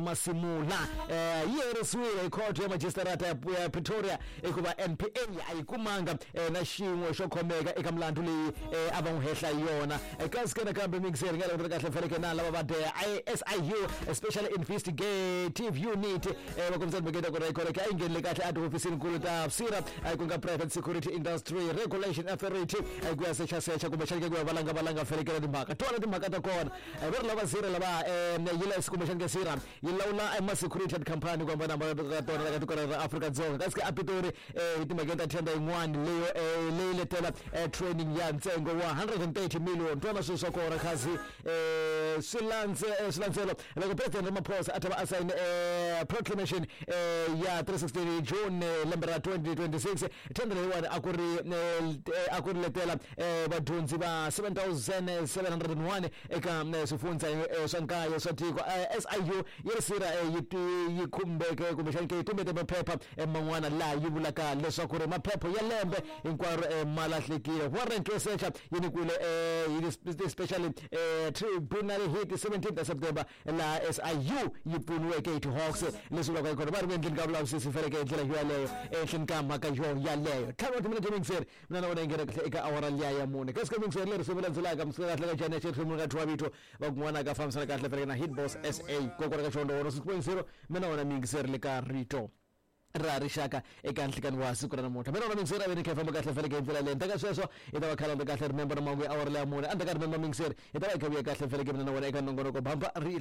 Masimula yi herisiwile hi khoto ya majistarata ya Pretoria hikuva NPA a yi kumanga na xin'we xo khomeka eka milandzu leyi a va n'wi hehla hi yona. Kasi ke nakambe mixer nga langutela kahle faneke na lava va the SIU, Special Investigative Unit, va kombisa timhaka ku ri a yi nghenile kahle a tihofisini nkulu ta PSIRA, ku nga Private Security Industry Regulation Authority, ku ya sechasecha kumbexani ke ku ya valanga valanga fanekela timhaka tona timhaka ta kona. Va ri lava zira lava yi la kumbexani ke sira yi lawula ma-security company ku hambanahambana ka tona la ka tiko ra Afrika-Dzonga. Kasi ke a Pitori hi timhakeni ta tender yin'wani leyo leyi letela training ya ntsengo wa 130 million. Twana swilo swa kona khazi swi landze swilandzelo loko President Ramaphosa a ta va a sayine proclamation ya 316 June lembe ra 2026. Tender leyiwani a ku ri letela vadyondzi va 7701 eka swifundza swa nkaye swa tiko. SIU yi ri sira yi khumbeke kumbexani ke yi tumbete maphepha man'wana laha yi vulaka leswaku ri maphepha ya lembe hinkwaro ma lahlekile. Warrant yo secha yi nyikiwile hi special tribunal hi ti 17 ta September, laha SIU yi pfuniweke hi ti-Hawks, leswi vulaka kona va ri ku endleni ka vulavisisi faneke hi ndlela yo yaleyo ehenhleni ka mhaka yo yaleyo. 5 wa timinete mixer mina na wena yi nghena kahle eka awara liya ya 4. Kasi ka mixer leri swi landzelaka msuka kahle ka jani ya xirhemu ka thiwa vito va kun'wana ka fambisana kahle faneke na Hitboss SA kokwana ka Xondho 106.0. Mina wena mixer le ka Rito ra Rixaka eka nhlikani wa siku ra namuntlha, mina wena mixer a ve ni kha hi famba kahle faneke hi ndlela leyi. Ndzhaku ka sweswo hi ta va khalanda kahle. Remember na mahungu ya awara leya 4. Endzhaku ka remember mixer hi ta va hi kha vuya kahle faneke mina na wena eka nongonoko Bamba Ri.